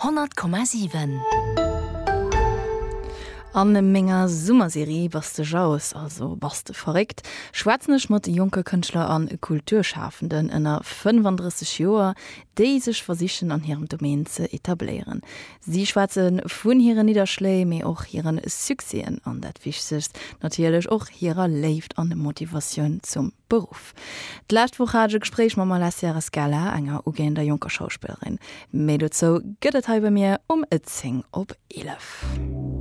100,7. An menger Summerserie Bass de Jauss, also bass de verréckt? schwätzen ech mat jonke Kënschtler an Kulturschafenden ënner 35 Joer, déi sech versichen an hirem Domaine ze etabléieren. Si schwätze vun hiren Nidderschléi, mee och hiren Succèsen an dat Wichtegst natierlech och hirer Léift an Motivatioun zum Beruff. D'lescht Woch hat ech e Gespréich mam Alessia Rescala, enger ugehender jonker Schauspillerin. Méi dozou gëtt et hei bei mir um 10 op 11.